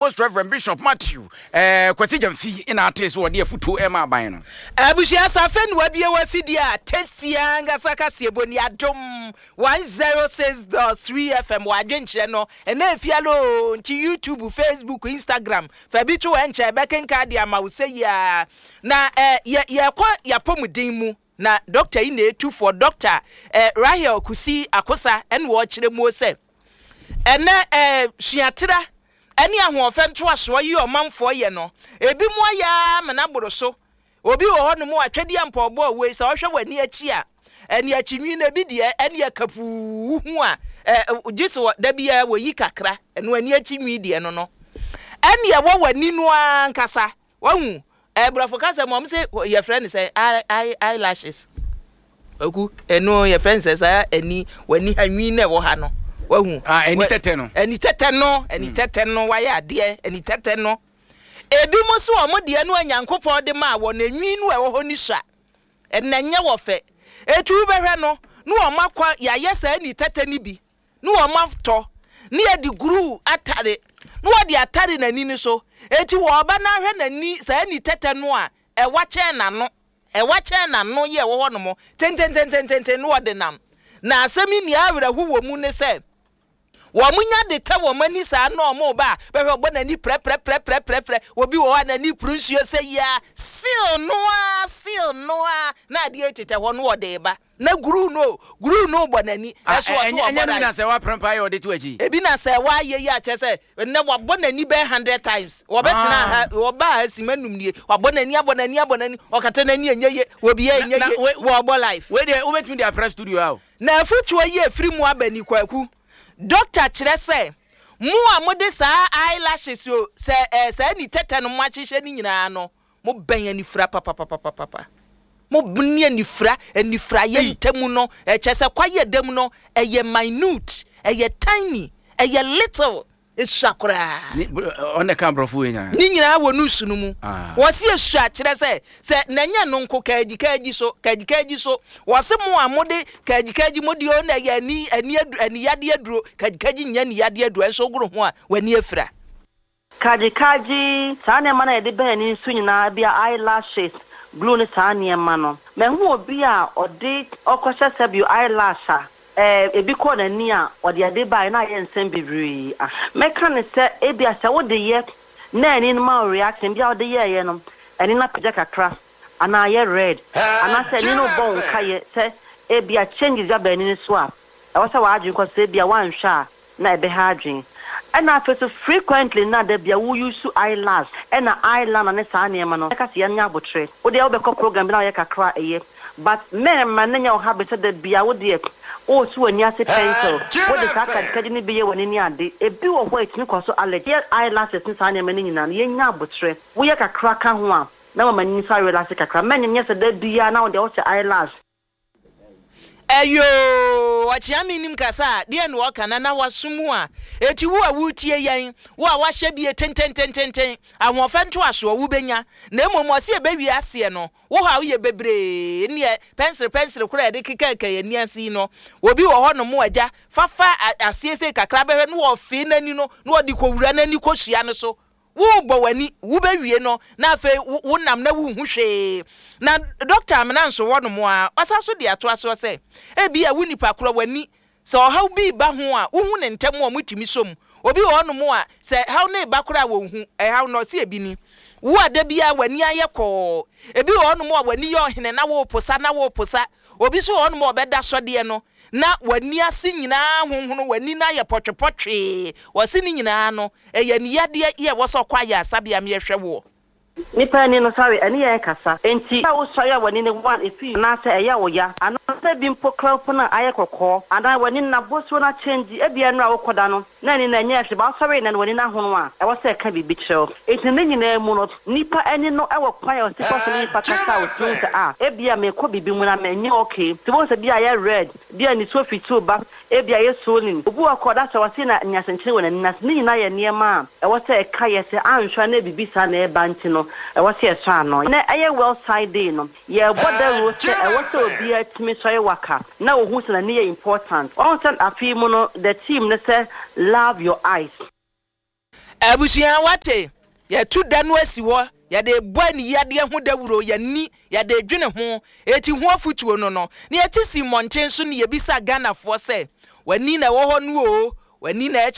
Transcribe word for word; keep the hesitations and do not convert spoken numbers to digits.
Most Reverend Bishop Matthew eh, Kwasi Gyamfi na ate so wɔde afutuo ɛma aban no. Abusua safe no wabie wafidie a tesia ankasa kaseɛbɔ ni Adom one oh six point three F M wɔ adwenkyerɛ no ɛna efialo o. Nti YouTube, Facebook, Instagram, fa bi to ɛnkyɛ ɛbɛkenka de ama wo sɛ yia na ɛ yɛ yɛkɔ yɛapɔmuden mu na dɔkta yi na etufoɔ, Dɔkta ɛ Rahel Kusi Akosa, ɛna wɔrekyerɛ mu sɛ ɛnɛ ɛ suatera ɛne ahoɔfɛ ntoasoɔ yi ɔmanfoɔ yɛ no, ebi mu ayɛ ama n'aboro so. Obi wɔ hɔ nom atwɛdeɛ mpɔbɔ a wei sɛ ɔhwɛ w'ani akyi a, ɛne akyinwi no ebi deɛ ɛne akapuu hu a ɛ gye sɛ da biara wɔyi kakra. Ɛno ani akyi nwi deɛ no no ɛne ɛwɔ w'ani no ankasa wahu. Ɛborɔfo kasa mu ɔmo sɛ yɛfrɛ no sɛ eye eye eyelashes oku. Ɛno yɛfrɛ no sɛ saa ani w'ani ha nwi na ɛwɔ ha no wahu. Ah, ani tɛtɛ no. Ani tɛtɛ no, ani tɛtɛ no wayɛ adeɛ. Ani tɛtɛ no, ebi mo so ɔmo deɛ no a Nyankopɔn de maa wɔ n'enwi no a ɛwɔ hɔ ni sua ɛnna nyɛ wɔ fɛ etu bɛhwɛ no ne wɔn akɔ yɛayɛ saa ani tɛtɛ no bi ne wɔn atɔ ne yɛde glue atare ne wɔde atare n'ani no so. Eti wɔ ɔba n'ahwɛ n'ani saa ani tɛtɛ no a ɛwa kyɛn n'ano, ɛwa kyɛn n'ano yɛ ɛwɔ hɔ nom tententententen ne wɔde nam. Na asɛm yi nea awerɛho wɔ mu ne sɛ wɔn nya de tɛ wɔn ani saa na wɔn ba a bɛhwɛ ɔbɔ n'ani prɛprɛprɛprɛprɛ. Obi wɔ hɔ a n'ani puru nsuo sɛ yia seal noa seal noa na adeɛ tetɛ hɔ no wɔde ba na glue no glue no bɔ n'ani. Ɛso ɔso ɔbɔ ɛnyɛ no na sɛ waprɛmpa yɛ ɔde to akyi. Ebi na sɛ wayɛ yi akyɛ sɛ nnɛ wabɔ n'ani bɛyɛ hundred times. Wɔbɛtena ha, wɔba ha sima num nie, wabɔ n'ani, abɔ n'ani, abɔ n'ani, ɔkata n'ani enye ye, obi yɛ enye ye, wɔbɔ life. Wei deɛ wobɛtumi de aprɛ studio ha o. Na afutuo yi efiri mu aba ni, Kwaku, dɔkta kyerɛ sɛ mo a mode saa eyelashes o sɛ ɛɛ saa ni tɛtɛ no mo ahyehyɛ ne nyinaa no, mo bɛn anifira papapapapapa. Mo ne anifira anifira yɛ ntamu no ɛkyɛ sɛ kwaeɛ dam no ɛyɛ minute, ɛyɛ tiny, ɛyɛ little, esua koraa. Ɔne ka aborɔfo wei nyinaa. Ne nyinaa wɔ news no mu. Wɔsi esua kyerɛ sɛ sɛ n'anyɛ no nko kaagyi kaagyi so kaagyi kaagyi so. Wɔsi mo a mode kaagyi kaagyi mo deɛ ɔna yɛ ani ani adu ani yadeɛ aduro. Kaagyi kaagyi nyɛ ani yadeɛ aduro, ɛnso ogoro ho a w'ani afira. Kagyekagye saa nneɛma no a yɛde bɛn ani nso nyinaa bi a eyelashes, glue ne saa nneɛma no, mahu obi a ɔde ɔkɔhyɛ sɛbio eyelash a ɛɛ ebi kɔɔ n'ani a ɔde ade baeɛ na ayɛ nsɛm bebree. A mɛka ne sɛ ebi a sɛ wode yɛ na ani no ma wo reaction bi a wode yɛɛyɛ no, ani no apagya kakra anaa ayɛ red anaasɛ ani no bɔ wo nkayɛ sɛ ebi a changes bi aba ani no so a, ɛwɔ sɛ w'adwene kɔ sɛ ebi a woanhwɛ a na ɛbɛha adwene. Ɛna afei so frequently na da bia wo use eyelash ɛna eyeliner ne saa nneɛma no, ɛka sɛ yɛnyɛ abotire. Wo deɛ wobɛkɔ program bi na woyɛ kakra a ɛyɛ, but mɛɛma ne nyɛ wo habit sɛ da bia wo deɛ wosi w'ani ase pencil, wode saa kagyekagye no bi yɛ w'ani ne ade. Ebi wɔ hɔ a ɛtumi kɔ so allergy. Yɛ eyelashes ne saa nneɛma no nyinaa no, yɛnya abotire. Woyɛ kakra ka ho a na wama ani nso arelax kakra. Mɛnyɛ nyɛ sɛ da bia na wo deɛ wohyɛ eyelash. Ɛyoo, ɔkyea mi nim kasa a deɛ na ɔka na na waso mu a eti wo a wotie yɛn, wo a wahyɛ bie tententententen ahoɔfɛ ntoasoɔ wobɛnya na mmom ɔsi ɛbɛwie aseɛ no wo ha woyɛ bebree neɛ pɛnsere pɛnsere koraa yɛde kekaka yɛn ani ase yi no. Obi wɔ hɔ nom agya fafa aseɛ sei kakra bɛhwɛ no wɔfee n'ani no na wɔde kɔwura n'ani kɔsua no so. Wobɔ w'ani wobɛwie no na afei wonam na wonhu hwee. Na Dɔkta Amena nso wɔ nom a ɔsa so de atoa soɔ sɛ ebi a wo nipa korɔ w'ani sɛ ɔhaw bi ba ho a, wohu ne ntɛm a ɔmotumi som. Obi wɔ hɔnom a sɛ haw ne ba koraa wɔnhu ɛhaw no. Ɔse ebi ni wo a da biara w'ani ayɛ kɔɔ. Ebi wɔ hɔnom a w'ani yɛ ɔhene na woposa na woposa. Obi nso wɔ hɔnom a ɔbɛda sɔdeɛ no na w'ani ase nyinaa honhono, w'ani no ayɛ pɔtwepɔtwee. Wɔse ne nyinaa no ɛyɛ aniyadeɛ yɛ ɛwɔ sɛ ɔkɔ ayɛ asabea meyɛhwɛ woɔ. Nipa ani no sɔre ɛne yɛn kasa nti a wosɔre a w'ani no one efi anaasɛ ɛyɛ wo ya anaasɛ bi mpo kora mpo no a ayɛ kɔkɔɔ anaa w'ani no n'abosuo no akyɛngyi. Ebia no a wokɔda no na ani no ɛnyɛ hwee ba wosɔre na w'ani no ahono a, ɛwɔ sɛ ɛka biribi kyerɛ wo. Nti ne nyinaa mu no, nipa ani no ɛwɔ kwan a ɔsi fa so ne nipa kasa a otumi sɛ a ebia mekɔ biribi mu na mɛnyɛ okay. Nti wɔn sɛ bi a ayɛ red, bi a nisuo fituo ba, ebi a yɛ swollen, obi wɔ kɔ ɔda sɛ wɔsi na nyasɛnkyerɛ wɔ n'ani n'ase. Ne nyinaa yɛ nneɛma a ɛwɔ sɛ ɛka yɛ sɛ anhwɛ na biribi saa na ɛba. Nti no ɛwɔ sɛ yɛsɔ ano na ɛyɛ World Sight Day no, yɛbɔ dawuro sɛ ɛwɔ sɛ obiara tumi sɔre waka na ohun sɛ n'ani yɛ important. Wɔn sɛ afei mu no the theme ne sɛ "Love your eyes". Abusua, wate, yɛtu da no asi hɔ, yɛde bɔ aniyadeɛ ho dawuro, yɛni yɛde dwene ho eti ho afutuo no no na yɛte si mmɔnten so ne yɛbisa Ghanafoɔ sɛ w'ani na ɛwɔ hɔ no o, w'ani na ɛkyerɛ.